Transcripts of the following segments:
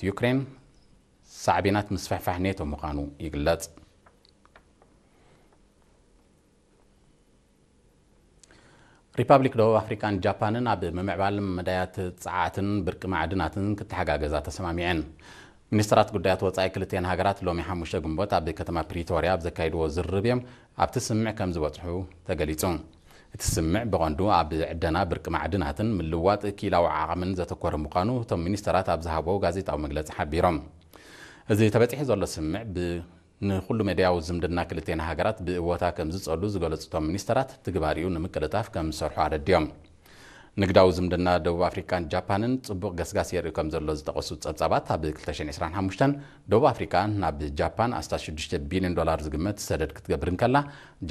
ዩክሬን ሳዕቤናት ምስፍሕፋሕ ኔቶ ምዃኑ ይግለጽ። ሪፓብሊክ ደቡብ ኣፍሪካን ጃፓንን ኣብ ምምዕባል መዳያት ጸዓትን ብርቂ ማዕድናትን ክተሓጋገዛ ተሰማሚዐን። ሚኒስትራት ጉዳያት ወጻኢ ክልቲኤን ሃገራት ሎሚ ሓሙሽተ ግንቦት ኣብ ከተማ ፕሪቶርያ ኣብ ዘካይድዎ ዝርርብ እዮም ኣብቲ ስምምዕ ከም ዝበጽሑ ተገሊጹ። እቲ ስምምዕ ብቐንዱ ኣብ ዕደና ብርቂ ማዕድናትን ምልዋጥ ክኢላዊ ዓቕምን ዘተኮረ ምዃኑ እቶም ሚኒስተራት ኣብ ዝሃብዎ ጋዜጣዊ መግለጺ ሓቢሮም። እዚ ተበጺሑ ዘሎ ስምምዕ ብ-፣ ንኹሉ መዳያዊ ዝምድና ክልቲኤን ሃገራት ብእወታ ከም ዝጸሉ ዝገለጹ እቶም ሚኒስተራት፣ ትግባሪኡ ንምቅልጣፍ ከም ዝሰርሑ ኣረዲኦም። ንግዳዊ ዝምድና ደቡብ ኣፍሪካን ጃፓንን ጽቡቕ ገስጋስ የርኢ ከም ዘሎ ዝጠቐሱ ጸብጻባት፣ ኣብ ክልተ ሽሕን ዕስራን ሓሙሽተን ደቡብ ኣፍሪካ ናብ ጃፓን ኣስታት ሽዱሽተ ቢልዮን ዶላር ዝግመት ሰደድ ክትገብር እንከላ፣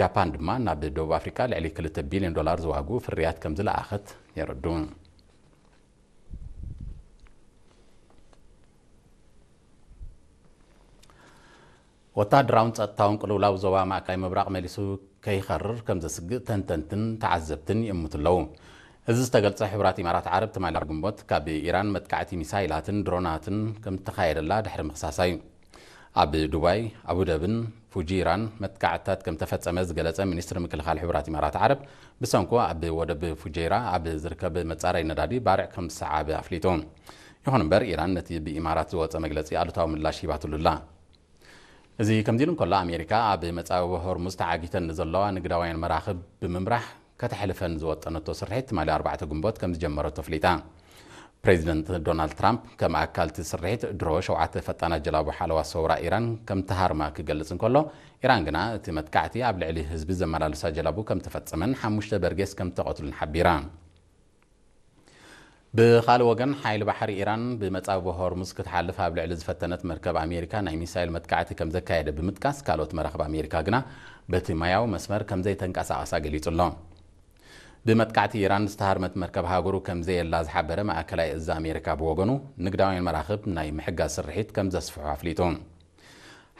ጃፓን ድማ ናብ ደቡብ ኣፍሪካ ልዕሊ ክልተ ቢልዮን ዶላር ዝዋግኡ ፍርያት ከም ዝለኣኸት የረዱ። ወታደራውን ጸጥታውን ቅልውላው ዞባ ማእከላይ ምብራቕ መሊሱ ከይኸርር ከም ዘስግእ ተንተንትን ተዓዘብትን ይእምቱ ኣለዉ። እዚ ዝተገልጸ፣ ሕቡራት ኢማራት ዓረብ ትማሊ ግንቦት ካብ ኢራን መጥቃዕቲ ሚሳይላትን ድሮናትን ከም እተኻየደላ ድሕሪ ምኽሳሳ እዩ። ኣብ ዱባይ፣ ኣቡደብን ፉጂራን መጥቃዕትታት ከም ተፈጸመ ዝገለጸ ሚኒስትሪ ምክልኻል ሕቡራት ኢማራት ዓረብ፣ ብሰንኩ ኣብ ወደብ ፉጀይራ ኣብ ዝርከብ መጻረይ ነዳዲ ባርዕ ከም ዝሰዓበ ኣፍሊጡ። ይኹን እምበር፣ ኢራን ነቲ ብኢማራት ዝወጸ መግለጺ ኣሉታዊ ምላሽ ሂባትሉ ኣላ። እዚ ከምዚ ኢሉ እንከሎ፣ ኣሜሪካ ኣብ መጻብቦ ሆርሙዝ ተዓጊተን ንዘለዋ ንግዳውያን መራኽብ ብምምራሕ ከተሕልፈን ዝወጠነቶ ስርሒት ትማሊ ኣርባዕተ ግንቦት ከም ዝጀመረቶ ኣፍሊጣ። ፕሬዚደንት ዶናልድ ትራምፕ ከም ኣካል እቲ ስርሒት ድሮ ሸውዓተ ፈጣናት ጀላቡ ሓለዋ ሰውራ ኢራን ከም ተሃርማ ክገልጽ እንከሎ፣ ኢራን ግና እቲ መጥቃዕቲ ኣብ ልዕሊ ህዝቢ ዘመላልሳ ጀላቡ ከም ተፈጸመን ሓሙሽተ በርጌስ ከም ተቐትሉን ሓቢራ። ብኻልእ ወገን፣ ሓይሊ ባሕሪ ኢራን ብመጻብቦ ሆርሙዝ ክትሓልፍ ኣብ ልዕሊ ዝፈተነት መርከብ ኣሜሪካ ናይ ሚሳይል መጥቃዕቲ ከም ዘካየደ ብምጥቃስ፣ ካልኦት መራኽብ ኣሜሪካ ግና በቲ ማያዊ መስመር ከም ዘይተንቀሳቐሳ ገሊጹ ኣሎ። ብመጥቃዕቲ ኢራን ዝተሃርመት መርከብ ሃገሩ ከም ዘየላ ዝሓበረ ማእከላይ እዝ ኣሜሪካ ብወገኑ፣ ንግዳውያን መራኽብ ናይ ምሕጋዝ ስርሒት ከም ዘስፍሑ ኣፍሊጡ።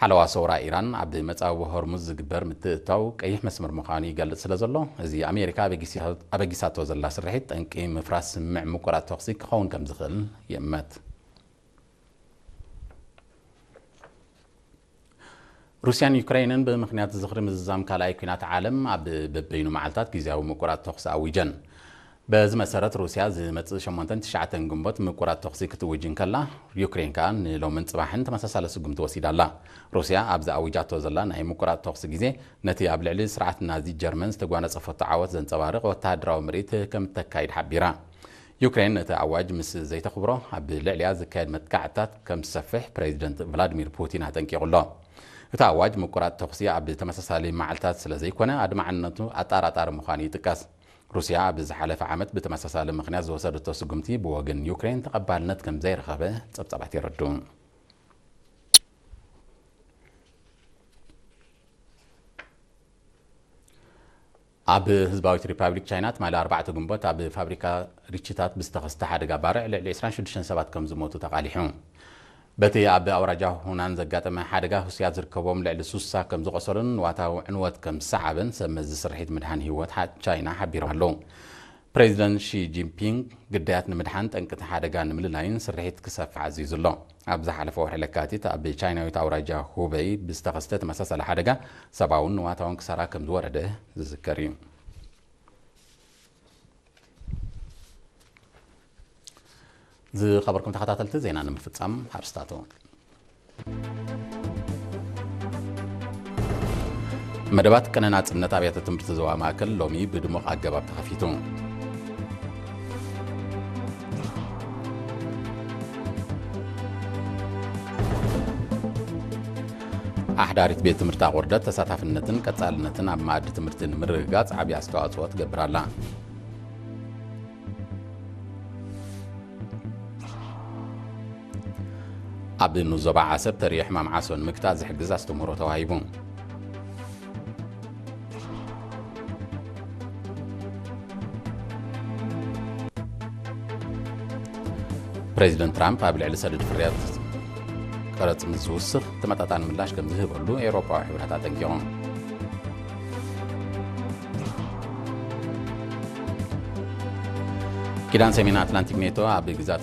ሓለዋ ሰውራ ኢራን ኣብ መጻብቦ ሆርሙዝ ዝግበር ምትእትታው ቀይሕ መስመር ምዃኑ ይገልጽ ስለ ዘሎ፣ እዚ ኣሜሪካ ኣበጊሳ-፣ ኣበጊሳቶ ዘላ ስርሒት ጠንቂ ምፍራስ ስምምዕ ምቁራጽ ተኹሲ ክኸውን ከም ዝኽእል ይእመት። ሩስያን ዩክሬንን ብምኽንያት ዝኽሪ ምዝዛም ካልኣይ ኲናት ዓለም ኣብ በበይኑ መዓልታት ግዝያዊ ምቁራጽ ተኹሲ ኣዊጀን። በዚ መሰረት፣ ሩስያ ዝመጽእ ሸሞንተን ትሽዓተን ግንቦት ምቁራጽ ተኹሲ ክትእውጅ እንከላ፣ ዩክሬን ከኣ ንሎምን ጽባሕን ተመሳሳሊ ስጉምቲ ወሲዳ ኣላ። ሩስያ ኣብዚ ኣዊጃቶ ዘላ ናይ ምቁራጽ ተኹሲ ግዜ፣ ነቲ ኣብ ልዕሊ ስርዓት ናዚ ጀርመን ዝተጓነጸፈቶ ዓወት ዘንጸባርቕ ወተሃደራዊ ምርኢት ከም እተካይድ ሓቢራ። ዩክሬን ነቲ ኣዋጅ ምስ ዘይተኽብሮ፣ ኣብ ልዕሊኣ ዝካየድ መጥቃዕትታት ከም ዝሰፍሕ ፕሬዚደንት ቭላድሚር ፑቲን ኣጠንቂቑ ኣሎ። እቲ ኣዋጅ ምቁራጽ ተኹሲ ኣብ ተመሳሳሊ መዓልታት ስለ ዘይኮነ፣ ኣድማዕነቱ ኣጠራጣሪ ምዃኑ ይጥቀስ። ሩስያ ኣብ ዝሓለፈ ዓመት ብተመሳሳሊ ምኽንያት ዝወሰደቶ ስጉምቲ ብወገን ዩክሬን ተቐባልነት ከም ዘይረኸበ ጸብጻባት የረድኡ። ኣብ ህዝባዊት ሪፓብሊክ ቻይና ትማሊ ኣርባዕተ ግንቦት ኣብ ፋብሪካ ሪችታት ብዝተኸስተ ሓደጋ ባርዕ ልዕሊ ዕስራን ሽዱሽተን ሰባት ከም ዝሞቱ ተቓሊሑ። በቲ ኣብ ኣውራጃ ሁናን ዘጋጠመ ሓደጋ፣ ህሱያት ዝርከቦም ልዕሊ ሱሳ ከም ዝቖሰሉን ንዋታዊ ዕንወት ከም ዝሰዓበን ሰብ መዚ ስርሒት ምድሓን ህይወት ሓ-፣ ቻይና ሓቢሮም ኣለዉ። ፕሬዚደንት ሺ ጂንፒንግ ግዳያት ንምድሓን ጠንቅቲ ሓደጋ ንምልላይን ስርሒት ክሰፍሕ ኣዚዙ ኣሎ። ኣብ ዝሓለፈ ወርሒ ለካቲት ኣብ ቻይናዊት ኣውራጃ ሁበይ ብዝተኸስተ ተመሳሳሊ ሓደጋ ሰብኣውን ንዋታውን ክሳራ ከም ዝወረደ ዝዝከር እዩ። ዝኸበርኩም ተኸታተልቲ ዜና ንምፍጻም ኣርስታቱ። መደባት ቅነ ናጽነት ኣብያተ ትምህርቲ ዞባ ማእከል ሎሚ ብድሙቕ ኣገባብ ተኸፊቱ። ኣሕዳሪት ቤት ትምህርቲ ኣቑርደት ተሳታፍነትን ቀጻልነትን ኣብ መኣዲ ትምህርቲ ንምርግጋጽ ዓቢ ኣስተዋጽኦ ትገብር ኣላ። ኣብ ንዞባ ዓሰብ ተሪኦ ሕማም ዓሶ ንምግታእ ዝሕግዝ ኣስተምህሮ ተዋሂቡ። ፕሬዚደንት ትራምፕ ኣብ ልዕሊ ሰደድ ፍርያት ቀረጽ ምስ ዝውስኽ ተመጣጣኒ ምላሽ ከም ዝህበሉ ኤውሮጳዊ ሕብረት ኣጠንቂቑ። ኪዳን ሰሜን ኣትላንቲክ ኔቶ ኣብ ግዛት